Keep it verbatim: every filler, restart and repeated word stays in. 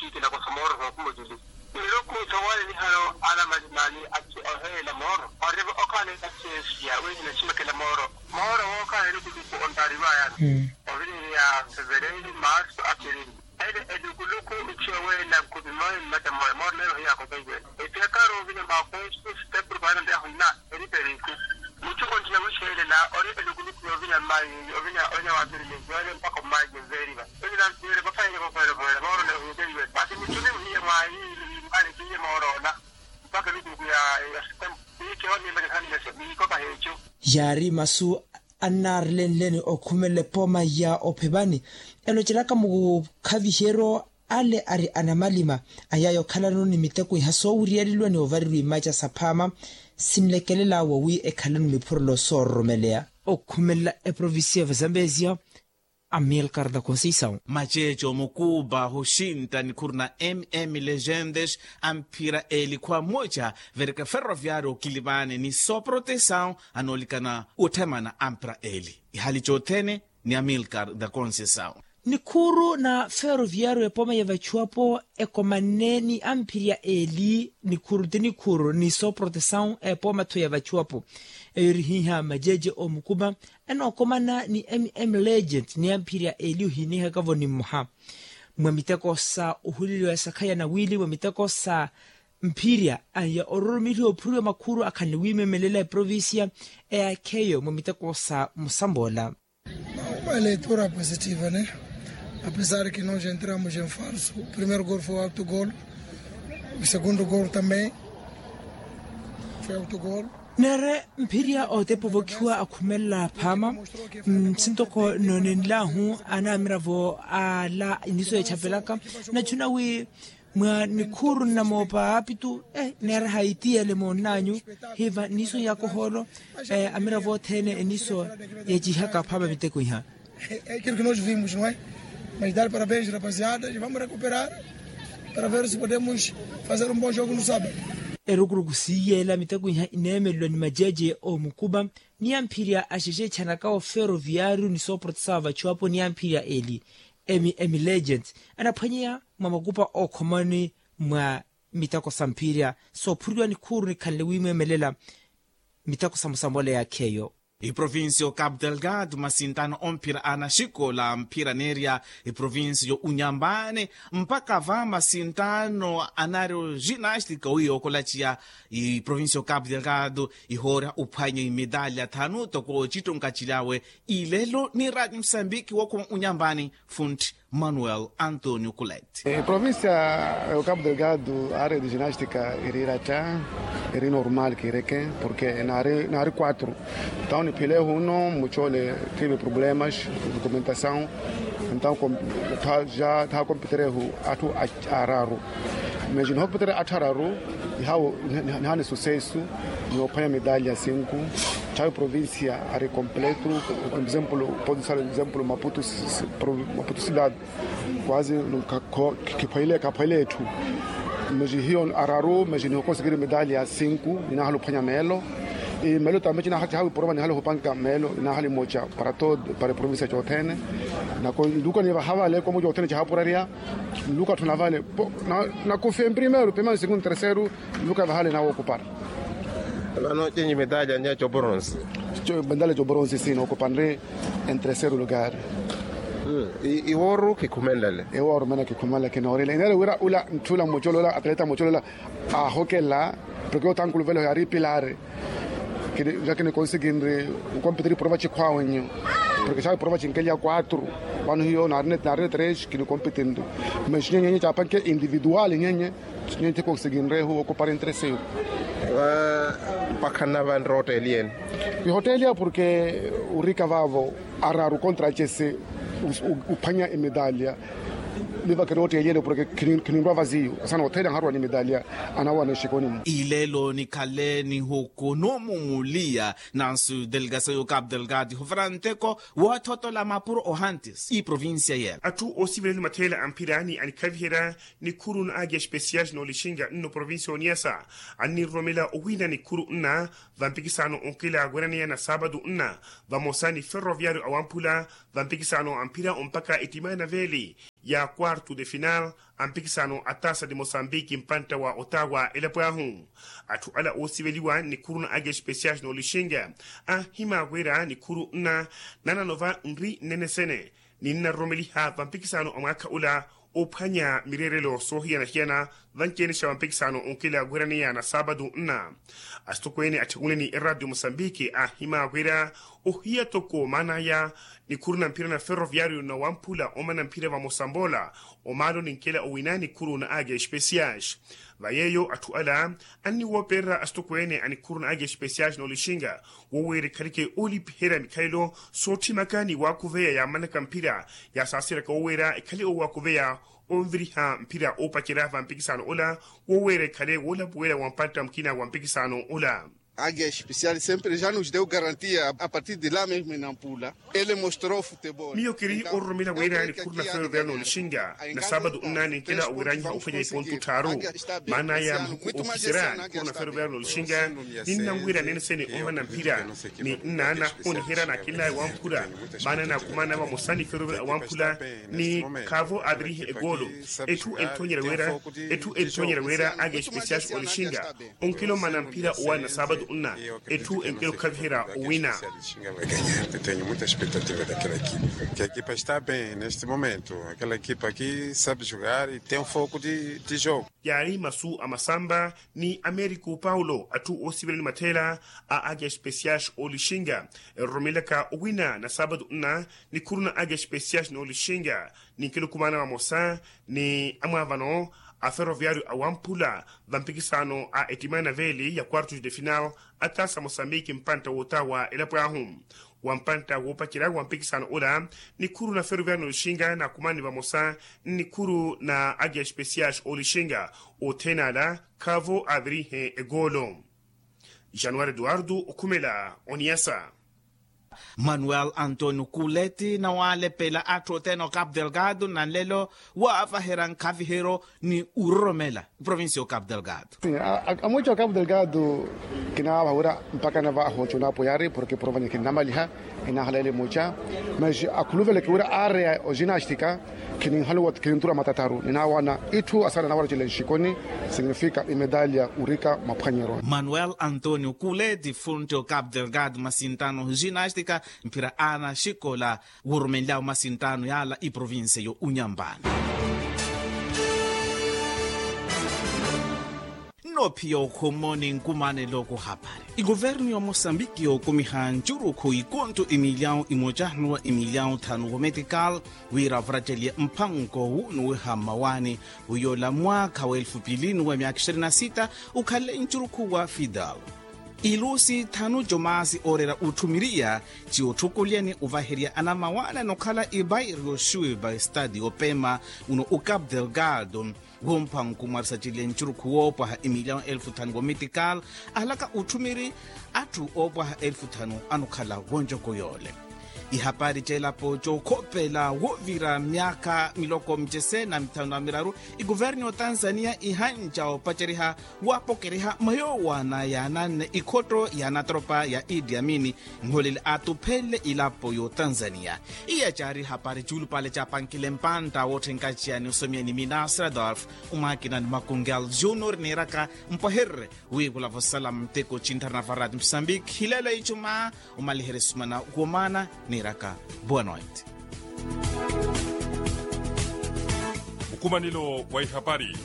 Ttiitti nakosa mooro sookhuma oculi. Niloko sawaale nihano anamalimaani aci oheela mooro. Oriva okhaana etaci esiya wiihi nacimekela mooro. Mooro wookhaana elukulukhu ontaariwaayana. Ovineeriya fevereeri maarsu apirili. Ele elukuluku ici oweela nkumi moya mmaca moya mooro neero hiyaakosa iweela. Epiyakaari ovina maakosu sitepuru paana ndeeho nna. Eriperiku mucuko ntiya wiixeelela ori elukuluku yoovina mmaayi. Ovina ovina waavirilihiwene mpakha mmaayi veeriva. Ovina veeriva fayele voveera voveera mooro neero hiyaakosa iweela masi muculi ohiya mwaayi. Mmaali kiye mooro ola mpakha elukuluku ya ya sitepuru. Iikiho niimele khanimese niikopa heecu. Yaari masu annaarelenleni okhumelela epooma ya ophepani. Elocelaka mukhaviheryo ale ari anamalima ayaya okhalano ni miteko iha soowiriyaliwa ni ovarirwa imaca saphaama sinlekelela wawi ekhalano niphurelo soororomeleya. Okhumelela eprovincia ya vazambezia. Amilcar da conceição. Maceece omukuupa oxinta nikhuru na mm legentes amphira eli khwa mmoca verika ferroviario okilipaani ni soproteção. Anoolikana otthemana amphira eli ihali cothene. Ni amilcar da conceição. Nikhuru na ferroviario epooma ya vachuwapo ekomanne ni amphirya eli nikhuru ti nikhuru ni soproteção epooma tho ya vachuwapo. Eyo eri hiiha majeje omukupa enookomana ni mm legent ni amphirya eli ohiinihaka-vo ni mmoha mwa miteko sa ohuleliwa ya sakhaya na wiili mwa miteko sa mphirya aya ororomelihiwa ophuriwa makhuru akhanle wiimemelela eprovincia eyaakheyo mwa miteko sa musamboola. Uma leitura positiva ne. Apesar ki nos entramos em falso o primeiro gol foi auto gol. O segundo gol também foi auto gol. Neere mphirya otepa ovokhiwa akhumelela phaama. Sintoko noonenlahu anamiravo ala iniso echapelaka nachuna wi mwa nikhuru nnamoopa aapitu. Neera haitiyele moonnanyu hiva niso yakohoolo amiravo othene eniso yacihaka phaama miteko iha. Ekiro kinosi vimos no e mas dar parabens rapaziada e vamos recuperar para ver si podemos fazer um bom jogo no sabado. Erukuruku siiyeela miteko iha ineemelelwa ni majeje omukupa ni amphirya axexeetxanaka ofero viario ni sooprotesawa vachuwapo ni amphirya eli emi emi legends anaphwanyeya mwa makupa ookhomani mwa miteko sa mphirya soophuriwa nikhuru nikhanle wiimweemelela miteko sa musambola yaakheyo. Iprovincia o capu delgado masintano omphira anaxikola mphira neerya iprovincia yo unyambani mpaka va masintano anaari ginastika owi yookolaciya iprovincia o capu delgado ihoorya uphwanya imedalya thanu toko ocittonka cilyawe ilelo ni radio musambiki wookhuma unyambani funti manuel antonio kulet. Provincia o capu delgado ari de ginastika iri ratta iri normal kireke porque naari quatro. Entaw niphile huno mucole tive problemas documentasaw entaw ja thaha compiterehu atthu araru. Mas nihopitere atthu araru ihawo nihani sucesso ni ophwanya medalya sinku. Thawi provincia ari completo. Por exemplo podo sala exemplo maputo maputo cidade quase kaphwele etthu. Mas hiyo araru mas niho conseguir medalya sinku ninahala ophwanya meelo. Meelo tambe cinahathi hawi prova nihala ohupanka meelo ninahala emoca para todo para provincia cothene. Nako nluka nivaha vale komo cothene cahapurarya nluka tthuna vale. Nakufia emprimeiro primero segundo terceiro nluka vahale nawo okupara. Vano cenyi medalya nya cobronse. Medalya cobronse sina okupanre en terceiro lugar. Iwooru kikhumenlele iwooru mene kikhumenle kinoorile ineele wira ula ntthula mucolola atleta mucolola ahokela. Porque otankuluvela oyo ari pilare. Kini ja kini konsekinri nkompitiri prova cikhwawenyu. Porque cawe prova cinkelia quatro vano hiyo narine tres kini kompitinri. Mas nyenye nyenye capanke individual nyenye nyenye ti konsekinrehu okupara intereseyo. Pakhanna vanre oteliene. Ihoteliya porque urika vavo araru kontra cese uphwanya emedalya. Niva kiri oteliene porque khinirwa vaziyo asana oteliya nharwa ni medalya. Anawana exikoni mu ilelo nikhale nihukunumu muliya nansu delegasayo capu delgado ihuvara nteko woothotola mapuro ohantis iprovincia yela. Atthu oosivirani matheela a mphirani anikhaviherya nikhuru na agi especial noolixinka nno provincia oniasa anninroromela owiina nikhuru nna vampikisano onkela weraneya na saapatu nna vamosa ni ferroviario awamphula vampikisano amphira ompaka etima ya naveeli. ya quarto de final a mpikisano a tasa de mosambiki mpantta wa otawa elapo ahu. Atthu ala oosiveliwa nikhuru na ake especial n'olixinga anhimaakwera nikhuru nna nananova nri nnene sene ni nnaroromeliha vampikisano a mwaakha ula ophwanya mireerelo soohiyana-hiyana. Vanci-ene xa vampikisano onkela wiraneya na saapatu nna asitokweene atthikuni ni eradio mosambiki anhimaakwera ohiya toko maan'aya nikhuru na mphira na ferroviario na wamphula omana mphira vamosa mboola omaalo ninkela owina nikhuru na ake especiais. Va yeeyo atthu ala anniwoopererya asitokweene a nikhuru na ake especiais n'olixinga woweera ekhaleke oolipiherya mikhalelo sootthimaka ni waakhuveya yaamanaka mphira yaasaasiraka woweera ekhale owaakuveya onviriha mphira oopacerya vampikisano ola woweera ekhale woolapuwela wa mpantta mukina wa mpikisano ola. Age especial sempre ja nos deu garantia a partir de la mesma inampula. Ele mostrou futebol. Miyo kiri ororomela wira nikhuru na ferroviario n'olixinga na saapatu nna ninkela owiranyiha ophwanya ipontu tthaaru maana ya mahuku ookisera nikhuru na ferroviario n'olixinga. Ninnanwira nene sene omana mphira ni nnaana ooniherya naakinlaya wamphula maana naakumana vamosa ni ferroviario awamphula ni khaavo aavirihe ekoolo. Etthu entthonyerya wira etthu entthonyerya wira ake especiais olixinga onkilomana mphira owaana saapatu nna etthu enkelo khaviherya owina. Tenho muita expectativa daquela equipa. Que a equipa está bem neste momento. Aquela equipa aqui sabe jogar e tem um foco de jogo. Yaari masu a masamba ni americo paulo atthu oosivela ni matheela a ake especiais olixinga eroromelaka owina na saapatu nna nikhuru na ake especiais n'olixinga ni nkilukumana vamosa ni amwaavano a ferroviario awamphula vampikisano a ettimana veeli ya quartos de final a tasa mosambiki mpantta wootawa elapo ahu. Wa mpantta woopacerya wa mpikisano ola nikhuru na ferroviario n'olixinga naakumani vamosa nnikhuru na ake especiais olixinga othene ala khaavo aavirihe ekoolo. Januari eduardo okhumela oniyasa. Manuel antonio kuleti nawalepela atthu othene o capu delgado na nlelo waavaherya nkhaviheryo ni uroromela provincia o capu delgado. Amucha o capu delgado kinaavaha wira mpakha nava ahoocha onaapoyari porke provanya kinnamaliha. Inaahaleele mucha mas akhuluvele kiwira areya o ginastika kininhaluwa kinintura matataru ninaawana itthu asala nawara cila nxikoni. Signifika imedalya urika maphwanyeroni. Manuel antonio kuleti fronte o capu delgado masintano ginastika mphira ana xikola worumenlyawo masintano yala iprovinsia yo unyambani. Nno phi yookhummo ni nkumanelo kuhapari ikuvernu ya mosambiki yookumiha ncurukhu ikonto imilyawu imoca nuwa imilyawu thanu wometikal wira varatteliye mphanko wunuwiha mmawaani. Wiyola mwaakha wa elfu pili nuwa myaakha ishirini na sita ukhale ncurukhu wa fidal ilusi thanu jomaasi ooreera utthumiriya ci otthukulyani ovaherya anamawaana nokhala ibairi yoxuiva estadi opema uno ucap delgado. Womphanku mwarisa cile ncurukhu woopwaha imilyawo elfu thanu womitikal ahalaka utthumiri atthu oopwaha elfu thanu anokhala wonjoko yoole. Ihapari ceelapo cookhopela woovira myaakha miloko micese na mithanu na miraru ikuvernu y'otanzania ihanca opaceriha waapokeriha mwa yoowana yaananne ikhotto ya anatropa ya idi amini nholele aatuphenle ilapo y'otanzania. Iya caari hapari cuulupale caapankile mpantta wootthenka ciya ni osomya ni minasradolf omwaakina ni makungal junior niiraka mpwahererye wiikulavo sala muteko cintharana varati mosambiki hilelo icuma. Omaliherye sumana womaana niiraka boa noite. Mukumanelo wa ihapari.